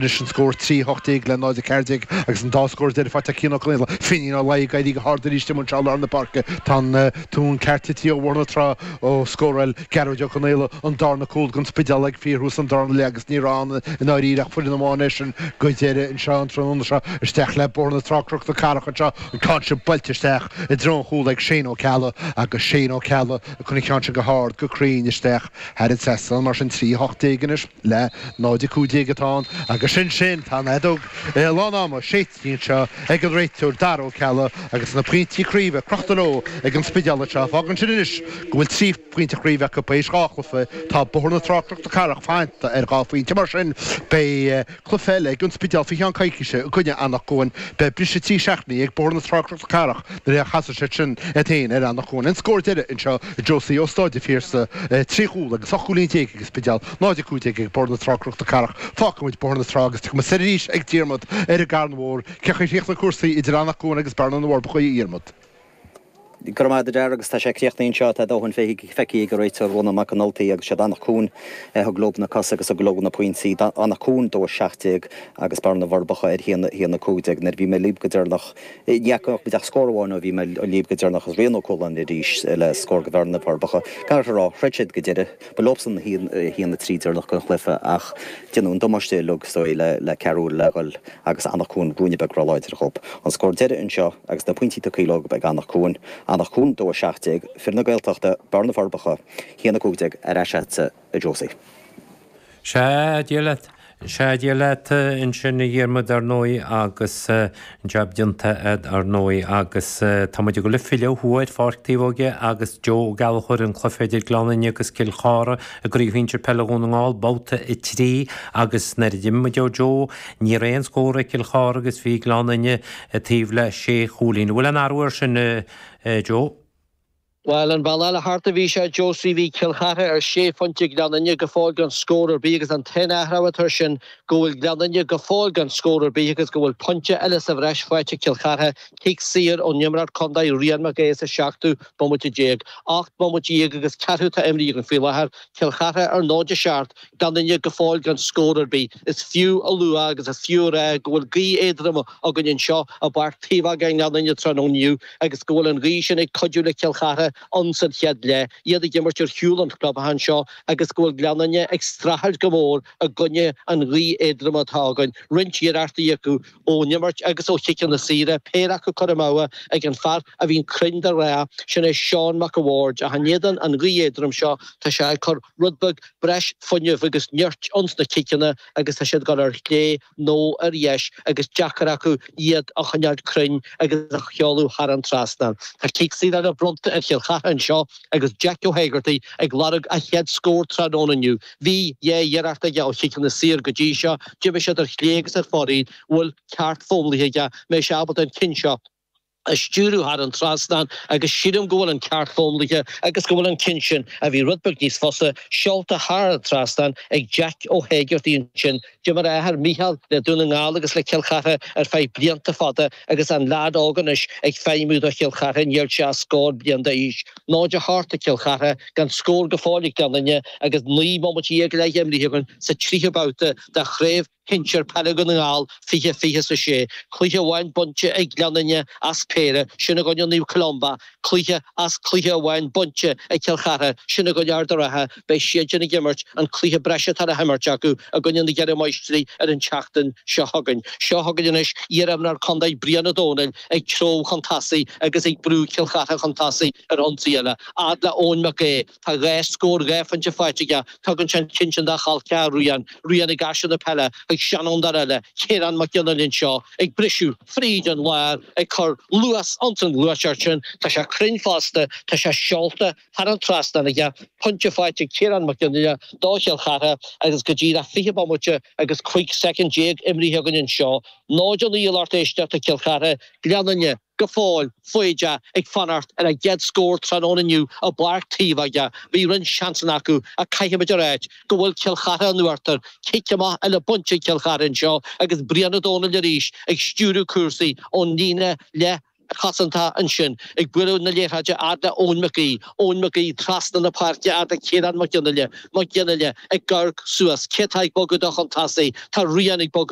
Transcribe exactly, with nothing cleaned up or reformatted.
Anois an scór trí hocht déag le náid a ceathair déag agus an dá scór deiridh faighte ag Cian Ó Conaola. Finín Ó Laoi ag éirí go hard arís amuigh anseo i lár na páirce. Tá an tóin ceart tite ó Bhóthar na Trá ó scóráil Gearóid Ó Conaola an darna cúl don Spidéal ag fíorthús an darna leath agus ní raibh ann i ndáiríre ach foireann amháin é sin go deireadh anseo an tráthnóna seo. Isteach le Bóthar na Trá Cnoc na Cathrach anseo, an ceann sin buailte isteach i dtreo an chúil ag Shane Ó Ceallaigh agus Shane Ó Ceallaigh ag cur an ceann sin go hard go cruinn isteach thar an trasnán. Mar sin trí hocht déag anois le náid a cúig déag atá ann agus sin sin, tá an fheadóg lán-ama séidte anseo ag an réiteoir Dara Ó Ceallaigh agus na pointí craoibhe crochta leo ag an Spidéal anseo. Fágann sin anois go bhfuil trí phointe chraoibhe acu tar éis dhá chluiche. Tá Bóthar na Trá Cnoc na Cathrach fanta ar dhá phointe. Mar sin, beidh cluiche eile ag an Spidéal faoi cheann coicíse i gcoinne Anach Cuain. Beidh briseadh trí seachtainí ag Bóthar na Trá Cnoc na Cathrach nuair a chasfaidh siad sin iad féin ar Anach Cuain. An scór deiridh anseo a Josie ó Stáid an Phiarsaigh, trí chúl agus ocht gcúilín déag ag an Spidéal, náid a cúig déag ag Bóthar na Trá Cnoc na Cathrach. Fágfaidh muid Bóthar na Trá agus tiocfaidh muid soir arís ag Diarmuid ar an gCarn Mhór. Cén chaoi a chríochnaigh cúrsaí idir Anach Cuain agus Bearna na bhForbacha, a Dhiarmuid? Go raibh maith agat a Dhara agus tá sé críochnaithe anseo, tá a dóthain feicthe ag an réiteoir Rónán Mac an Ultaigh agus siad Anach Cuain a thug leo na cosa agus a thug leo na pointí. Anach Cuain dó a seacht déag agus Bearna na bhForbacha ar haon a haon a cúig déag. Nuair a bhí mé libh go deireanach, ní fhaca muid ach scór amháin ó bhí mé libh go deireanach agus Rian Ó Cualáin arís le scór do Bhearna na bhForbacha. Caithfear a rá, throid siad go deireadh. Ba leobsan a haon a trí deireanach den chluiche ach déanadh an damáiste uilig is dóigh le le ceathrú uaire le dhul agus Anach Cuain ruainne beag róláidir dhób. An scór deiridh anseo agus na pointí tugtha leo ag Anach Cuain, Anach Cuain dó a seacht déag, fir na Gaeltachta, Bearna na bhForbacha, haon a cúig déag, ar ais agatsa a Josie. Sea, Dia leat. Sea, Dia leat ansin a Dhiarmuid ar ndóigh agus an jab déanta a'd ar ndóigh agus tá muid ag dul ag filleadh thuaidh ar Pháirc Taobhóige agus Joe Ó Gallchóir an cluiche idir Gleann Fhinne agus Cill Chartha i gCraobh Shinsir Peile Dhún na nGall babhta a trí agus nuair a d'imigh muid ó Joe ní raibh aon scór ag Cill Chartha agus bhí Gleann Fhinne taobh le sé chúilín. An bhfuil aon athrú air sin Joe? Bhuel, an bealach eile thart a bhí sé, Josie, bhí Cill Chartha ar sé phointe, Gleann Fhinne go fóill gan scór ar bith agus an t-aon athrú atá air sin go bhfuil Gleann Fhinne go fóill gan scór ar bith agus go bhfuil pointe eile sa bhreis faighte ag Cill Chartha, cic saor ón imreoir contae Rian Mac Aodha sa seachtú bomaite déag. Ocht mbomaite déag agus ceathrú atá imrithe againn faoi láthair, Cill Chartha ar náid a seacht, Gleann Fhinne go fóill gan scór ar bith. Is fiú a lua agus is fiú a rá go bhfuil gaoth éadrom againn anseo i bPáirc Taobhóige i nGleann Fhinne tráthnóna inniu agus go bhfuil an ghaoth sin ag cuidiú le Cill Chartha ann san chéad leath, iad ag imirt ar shiúl an chlubtha anseo agus go bhfuil Gleann Fhinne ag streachailt go mór i gcoinne an ghaoth éadrom atá againn. Roinnt iarrachtaí acu ón imirt agus ó chiceanna saora, péire acu curtha amú ag an fear a bhíonn cruinn de ghnáth, sin é Seán Mac a' Bhaird. Ach in éadan an ghaoth éadrom seo, tá sé ag cur rud beag breis fuinnimh agus nirt ins na ciceanna agus tá siad ag dul ar chlé nó ar dheis agus deacair acu iad a choinneáil cruinn agus a sheoladh thar an trasnán. Tá cic saor eile bronnta ar Chill Chartha anseo agus Jack Ó hÉigeartaigh ag lorg a chéad scór tráthnóna inniu. Bhí dhá iarracht aige ó chiceanna saor go dtí seo, d'imigh siad ar chlé agus ar fóraoil, bhfuil ceart fómlaithe aige, mbeidh sé ábalta an ceann seo a stiúradh thar an trasnán agus sílim go bhfuil an ceart fómlaithe agus go bhfuil an ceann sin, a bhí rud beag níos fusa, seolta thar an trasnán ag Jack Ó hÉigeartaigh ansin. D'imir a athair Mícheál le Dún na nGall agus le Cill Chartha ar feadh blianta fada agus an leaid óg anois ag feidhmiú do Chill Chartha, níl sé ach scór bliain d'aois. Náid a hocht ag Cill Chartha, gan scór go fóill ag Gleann Fhinne agus naoi mbomaite déag go leith imrithe againn sa tríú babhta de Chraobh Shinsir Peile Dhún na nGall fiche fiche is a sé. Cluiche amháin bainte ag Gleann Fhinne as péire, sin i gcoinne Naomh Columba, cluiche as cluiche amháin bainte ag Cill Chartha, sin i gcoinne Ard an Rátha. Beidh siadsan ag imirt an cluiche breise atá le himirt acu i gcoinne na gCeithre Máistrí ar an tseachtain seo chugainn. Seo chugainn anois iar-imreoir contae Brian Ó Domhnaill ag treabhadh chun tosaigh agus ag brú Cill Chartha chun tosaigh ar ionsaí eile. Fhad le Eoin Mac Aodha, tá dhá scór dhá phointe faighte aige, tugann sé an ceann sin dá chol ceathar Rian, Rian ag aistriú na peile chuig seanfhondúir eile, Ciarán Mac Fhionnghaile anseo ag briseadh fríd an lár, ag cur luas ins an ghluaiseacht sin. Tá sé cruinn fosta, tá sé seolta thar an trasnán aige, pointe faighte ag Ciarán Mac Fhionnghaile do Chill Chartha agus go díreach fiche bomaite agus cúig soicind déag imrithe againn anseo. Náid a naoi a lucht éisteachta Cill Chartha, Gleann Fhinne go fóill foighdeach ag fanacht ar a gcéad scór tráthnóna inniu i bPáirc Taobhóige. Bhí roinnt seansanna acu ach caithfimid a ráit go bhfuil Cill Chartha in uachtar. Cic amach eile bainte ag Cill Chartha anseo agus Brian Ó Domhnaill arís ag stiúradh cúrsaí ón líne leath chosanta ansin ag bualadh na liathróide fhad le Eoin McGee, Eoin McGee trasna na páirce fhad le Ciarán Mac Fhionnaile, Mac Fhionnaile ag amharc suas, cé atá ag bogadh dó chun tosaigh? Tá Rian ag bogadh.